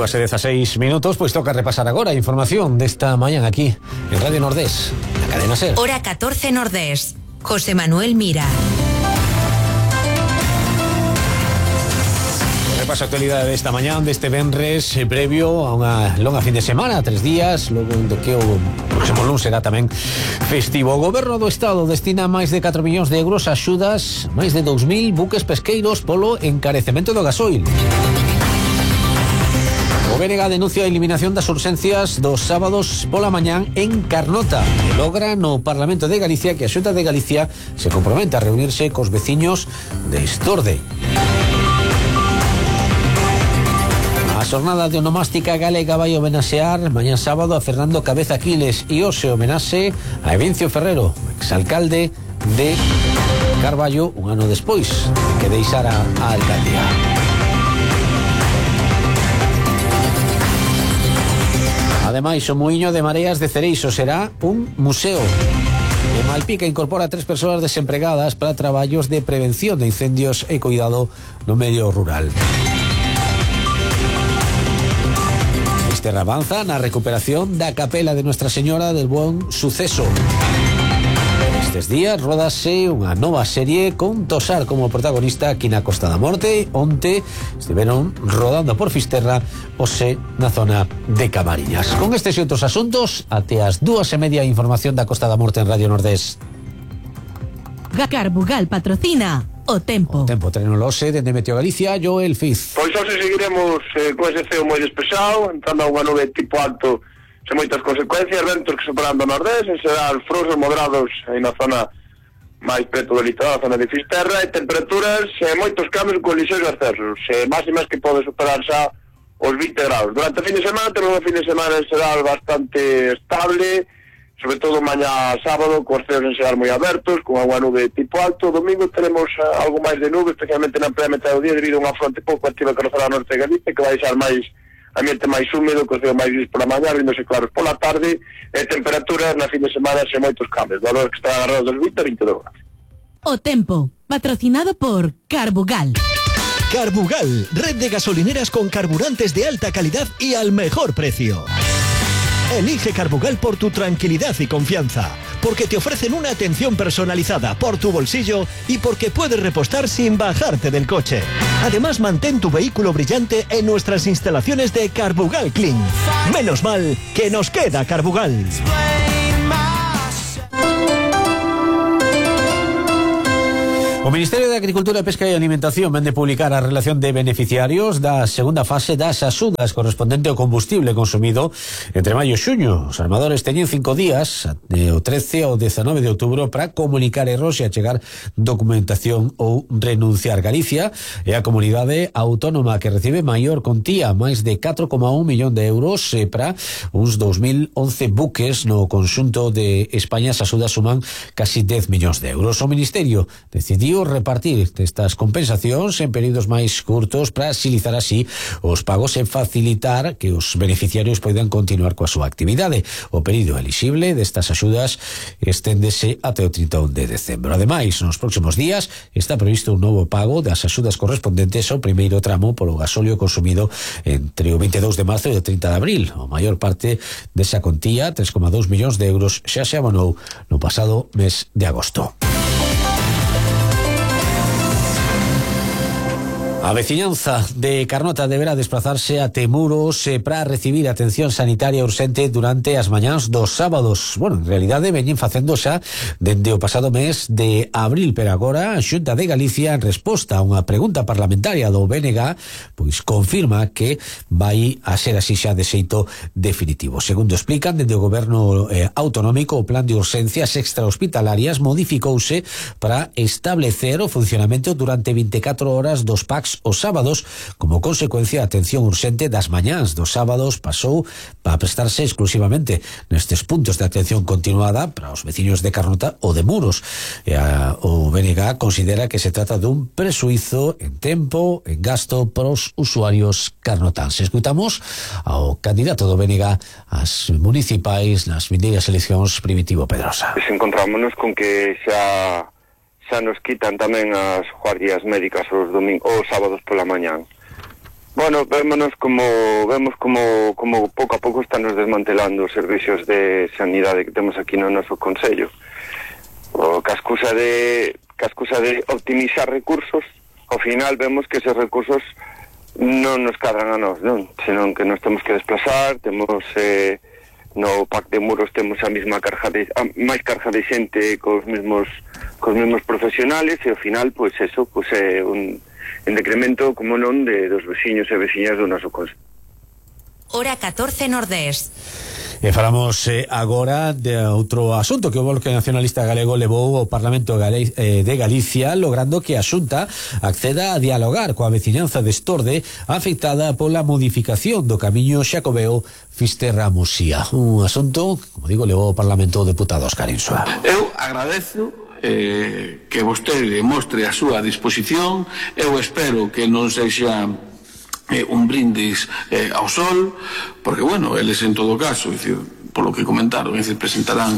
2:16 minutos, pois toca repasar agora a información desta mañán aquí en Radio Nordés, na cadena SER. Hora 14 Nordés. José Manuel Mira. Repaso a actualidade desta mañán, deste venres, previo a unha longa fin de semana, 3 días, logo do que o próximo lunes será tamén festivo. O Goberno do Estado destina máis de 4 millóns de euros a axudas máis de 2.000 buques pesqueiros polo encarecemento do gasoil. O BNG denuncia a eliminación das urxencias dos sábados pola mañán en Carnota e logra no Parlamento de Galicia que a Xunta de Galicia se compromete a reunirse cos veciños de Estorde. A xornada de onomástica galega vai homenaxear mañá sábado a Fernando Cabeza Aquiles e hoxe homenaxe a Evencio Ferrero, exalcalde de Carballo un ano despois que deixara a alcaldía. Ademais, o Muiño de Mareas de Cereixo será un museo. E Malpica incorpora 3 persoas desempregadas para traballos de prevención de incendios e cuidado no medio rural. Terra avanza na recuperación da capela de Nuestra Señora del Buen Suceso. Estes días rodase unha nova serie con Tosar como protagonista aquí na Costa da Morte. Onte estiveron rodando por Fisterra, hoxe na zona de Camariñas. Con estes e outros asuntos, até as 2:30 información da Costa da Morte en Radio Nordés. Carbugal patrocina O Tempo. O Tempo, Trenolose, dende Meteo Galicia, Joel Fiz. Pois hoxe seguiremos con ese ceo moi despexado, entrando a unha nube tipo alto sen moitas consecuencias, ventos que superando o nordés, en xeral frouxos moderados aí na zona máis preto do litoral, a zona de Fisterra, e temperaturas moitos cambios con lixeiros ascensos, máximas que pode superar xa os 20 graus. Durante o fin de semana temos un fin de semana en xeral bastante estable, sobre todo mañá sábado, cos ceos en xeral moi abertos, con unha nube tipo alto. Domingo teremos algo máis de nube, especialmente na primeira metade do día, debido a unha fronte pouco activa que nos fará a norte de Galicia, que vai xar máis ambiente máis húmedo, cos ceos máis gris pola mañá, vindose claros pola tarde, e temperaturas na fin de semana sen moitos cambios, valores que están agarrados dos 20 a 22 graus. O Tempo, patrocinado por Carbugal. Carbugal, red de gasolineras con carburantes de alta calidad y al mejor precio. Elige Carbugal por tu tranquilidad y confianza, porque te ofrecen una atención personalizada por tu bolsillo y porque puedes repostar sin bajarte del coche. Además, mantén tu vehículo brillante en nuestras instalaciones de Carbugal Clean. Menos mal que nos queda Carbugal. O Ministerio de Agricultura, Pesca e Alimentación vende publicar a relación de beneficiarios da segunda fase das axudas correspondente ao combustible consumido entre maio e xuño. Os armadores teñen 5 días, o 13 ao 19 de outubro, para comunicar erros e achegar documentación ou renunciar. Galicia é a comunidade autónoma que recibe maior contía, máis de 4,1 millón de euros para uns 2011 buques no conxunto de España. As axudas suman casi 10 millóns de euros. O Ministerio decidiu repartir estas compensacións en períodos máis curtos para axilizar así os pagos e facilitar que os beneficiarios poidan continuar coa súa actividade. O período elixible destas axudas esténdese até o 31 de decembro. Ademais, nos próximos días está previsto un novo pago das axudas correspondentes ao primeiro tramo polo gasóleo consumido entre o 22 de marzo e o 30 de abril. A maior parte desa contía, 3,2 millóns de euros, xa se abonou no pasado mes de agosto. A veciñanza de Carnota deberá desplazarse a Temuros para recibir atención sanitaria urxente durante as mañáns dos sábados. Bueno, en realidade veñen facendo xa dende o pasado mes de abril, pero agora a Xunta de Galicia, en resposta a unha pregunta parlamentaria do BNG, pois confirma que vai a ser así xa de xeito definitivo. Segundo explican, dende o Goberno autonómico, o plan de urxencias extrahospitalarias modificouse para establecer o funcionamento durante 24 horas dos PACs os sábados. Como consecuencia, a atención urxente das mañáns dos sábados pasou para prestarse exclusivamente nestes puntos de atención continuada para os veciños de Carnota ou de Muros. O BNG considera que se trata dun presuízo en tempo, en gasto para os usuarios carnotanses. Escutamos ao candidato do BNG ás municipais nas vindeiras eleccións, Primitivo Pedrosa. Encontrámonos con que xa nos quitan tamén as guardias médicas os sábados pola mañán. Bueno, vemos como pouco a pouco están nos desmantelando os servicios de sanidade que temos aquí no noso concello. O cascusa de optimizar recursos, ao final vemos que esos recursos non nos cadran a nós, non? Senón que nos temos que desplazar, temos no Pac de Muros temos a mesma máis carga de xente cos mesmos profesionales e ao final, pois eso, pois é un decremento, como non, dos veciños e veciñas do noso concello. Hora 14 Nordés. E falamos agora de outro asunto que o Bloque Nacionalista Galego levou ao Parlamento de Galicia, logrando que a Xunta acceda a dialogar coa veciñanza de Estorde afectada pola modificación do camiño Xacobeo Fisterra-Muxía. Un asunto, como digo, levou ao Parlamento o deputado Óscar Insua. Eu agradezo que vostede mostre a súa disposición. Eu espero que non sexa un brindis ao sol, porque, bueno, eles en todo caso, é dicir, polo que comentaron, é dicir, presentarán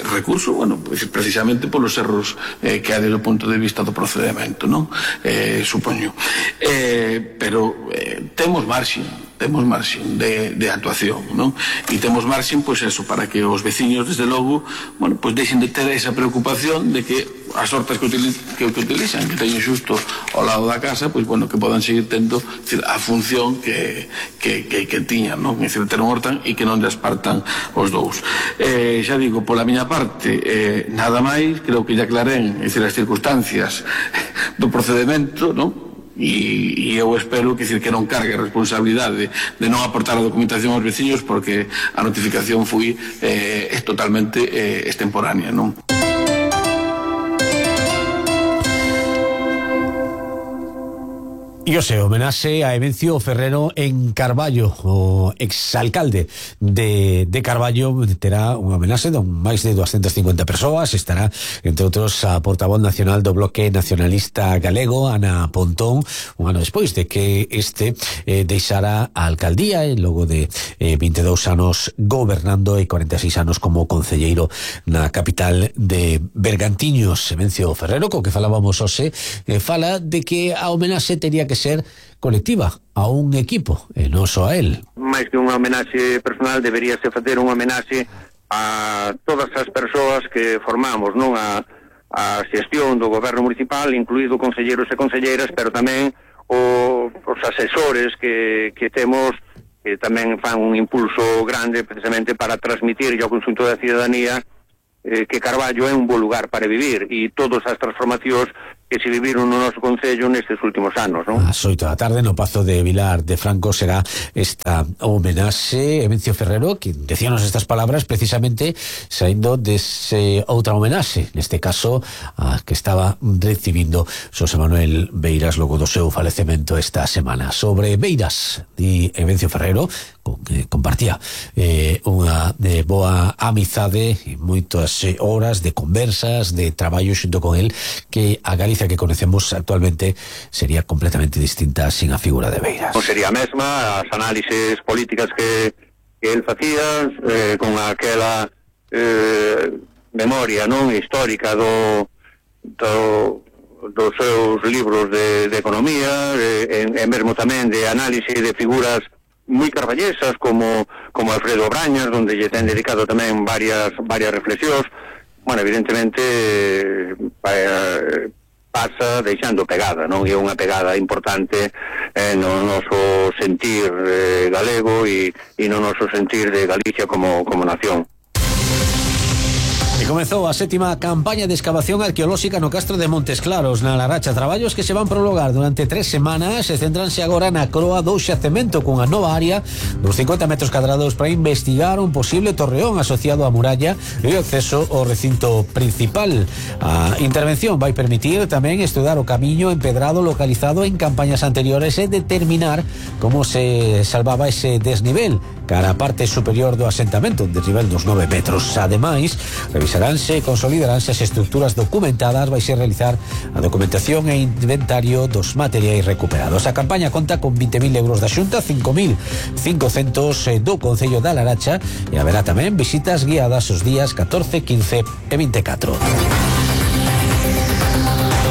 recurso, bueno, é dicir, precisamente polos erros que hai desde o punto de vista do procedimento, non? Supoño. Pero temos marxen de actuación, non? E temos marxen, pois eso, para que os veciños, desde logo, bueno, pois deixen de ter esa preocupación de que as hortas que utilizan, que teñen xusto ao lado da casa, pois, bueno, que podan seguir tendo, decir, a función que tiñan, non? É dicir, ter un hortan e que non despartan os dous. Xa digo, pola miña parte, nada máis, creo que ya aclarén, é dicir, as circunstancias do procedimento, non? E eu espero que non cargue a responsabilidade de non aportar a documentación aos veciños, porque a notificación foi totalmente extemporánea, non? E o seu homenaxe a Evencio Ferrero en Carballo, o exalcalde de Carballo, terá un homenaxe de máis de 250 persoas. Estará, entre outros, a portavoz nacional do Bloque Nacionalista Galego, Ana Pontón, un ano despois de que deixara a alcaldía e logo de 22 anos gobernando e 46 anos como concelleiro na capital de Bergantiños. Evencio Ferrero, co que falábamos hoxe, fala de que a homenaxe tería que ser colectiva, a un equipo, e non só a él. Máis que unha homenaxe personal, deberíase facer unha homenaxe a todas as persoas que formamos, non, a xestión do goberno municipal, incluído concelleiros e concelleiras, pero tamén os asesores que temos, que tamén fan un impulso grande precisamente para transmitir ao conxunto da cidadanía que Carballo é un bo lugar para vivir, e todas as transformacións que se viviron no noso concello nestes últimos anos, non? Ás 8 da tarde no Pazo de Vilar de Franco será esta homenaxe. Evencio Ferrero, que decíanos estas palabras precisamente saindo dese outra homenaxe, neste caso a que estaba recibindo Xosé Manuel Beiras logo do seu falecemento esta semana. Sobre Beiras, di Evencio Ferrero, que compartía unha boa amizade e moitas horas de conversas, de traballo xunto con el, que a Galicia que conocemos actualmente sería completamente distinta sin a figura de Beiras. Non sería a mesma, as análises políticas que el facía, con aquela memoria, non, histórica dos seus libros de economía, e mesmo tamén de análise de figuras moi carballesas como Alfredo Brañas, onde lle ten dedicado tamén varias reflexións. Bueno, evidentemente pasa deixando pegada, non? É unha pegada importante no noso sentir galego e no noso sentir de Galicia como nación. E comezou a 7ª campaña de excavación arqueolóxica no Castro de Montes Claros, na Laracha. Traballos que se van prolongar durante 3 semanas e centranse agora na croa do xacemento, cunha nova área dos 50 metros cadrados para investigar un posible torreón asociado á muralla e o acceso ao recinto principal. A intervención vai permitir tamén estudar o camiño empedrado localizado en campañas anteriores e determinar como se salvaba ese desnivel cara a parte superior do asentamento, un desnivel dos 9 metros. Ademais, revisaránse e consolidaránse as estructuras documentadas, vai ser realizar a documentación e inventario dos materiais recuperados. A campaña conta con 20.000 euros da Xunta, 5.500 do Concello da Laracha, e haberá tamén visitas guiadas os días 14, 15 e 24.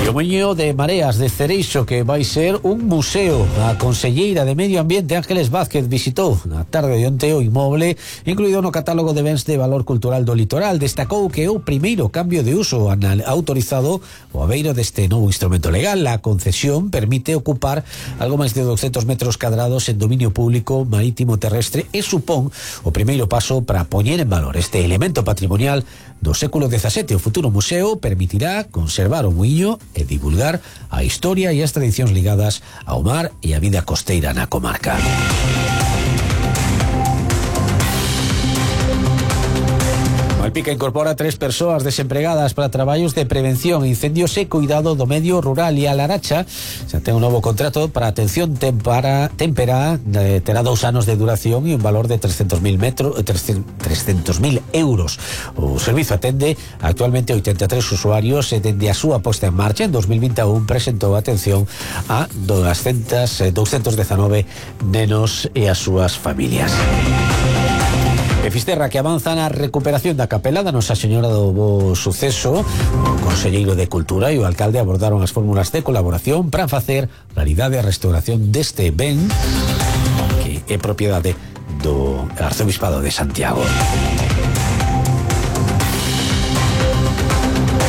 E o Muiño de Mareas de Cereixo, que vai ser un museo. A conselleira de Medio Ambiente Ángeles Vázquez visitou na tarde de onte o inmoble incluído no catálogo de bens de valor cultural do litoral. Destacou que é o primeiro cambio de uso autorizado o abeiro deste novo instrumento legal. A concesión permite ocupar algo máis de 200 metros cadrados en dominio público marítimo terrestre e supón o primeiro paso para poñer en valor este elemento patrimonial do século XVII. O futuro museo permitirá conservar o muiño e divulgar a historia e as tradicións ligadas ao mar e a vida costeira na comarca. Malpica incorpora 3 persoas desempregadas para traballos de prevención, incendios e cuidado do medio rural, e a Laracha xa ten un novo contrato para atención témpera, terá 2 anos de duración e un valor de 300.000 euros. O servizo atende actualmente 83 usuarios e dende a súa posta en marcha en 2021 presentou atención a 219 nenos e as súas familias. E Fisterra, que avanza na recuperación da capela da Nosa Señora do Bo Suceso. O conselleiro de Cultura e o alcalde abordaron as fórmulas de colaboración para facer realidade a restauración deste ben que é propiedade do Arzobispado de Santiago.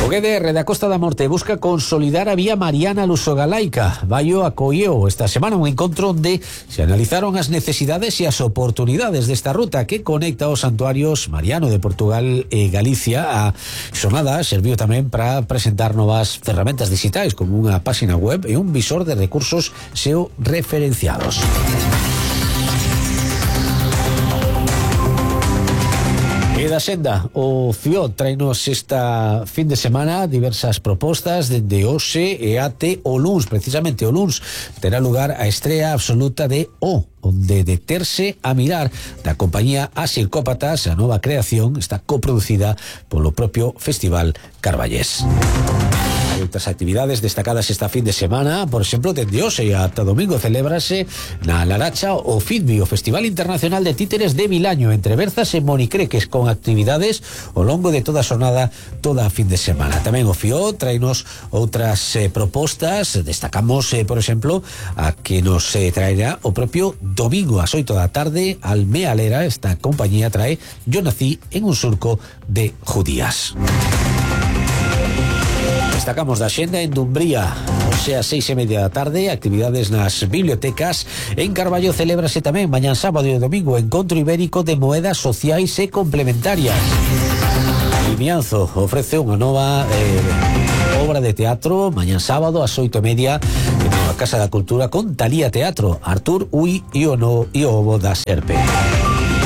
O GDR da Costa da Morte busca consolidar a vía Mariana Luso-Galaica. Baio acolleu esta semana un encontro onde se analizaron as necesidades e as oportunidades desta ruta que conecta os santuarios Mariano de Portugal e Galicia. A xornada serviu tamén para presentar novas ferramentas digitais como unha páxina web e un visor de recursos SEO referenciados. E da senda, o FIOD traenos esta fin de semana diversas propostas dende hoxe e até o luns. Precisamente o luns terá lugar a estrea absoluta de O, onde deterse a mirar da compañía As Psicópatas. A nova creación está coproducida polo propio Festival Carballés. Hai outras actividades destacadas esta fin de semana. Por exemplo, dende hoxe ata domingo celébrase na Laracha o FITBI, o Festival Internacional de Títeres de Vilaño, entre Berzas e Monicreques, con actividades ao longo de toda a xornada, toda a fin de semana. Tamén o FIO traenos outras propostas. Destacamos, por exemplo, a que nos traerá o propio domingo ás 8 da tarde Almealera. Esta compañía trae Yo nací en un surco de judías. Destacamos da xenda en Dumbría, o sea, 6:30 da tarde, actividades nas bibliotecas. En Carballo celébrase tamén mañán sábado e domingo encontro ibérico de moedas sociais e complementarias. Vimianzo ofrece unha nova obra de teatro mañán sábado ás 8:30 na Casa da Cultura con Talía Teatro, Artur Ui e o Ovo da Serpe.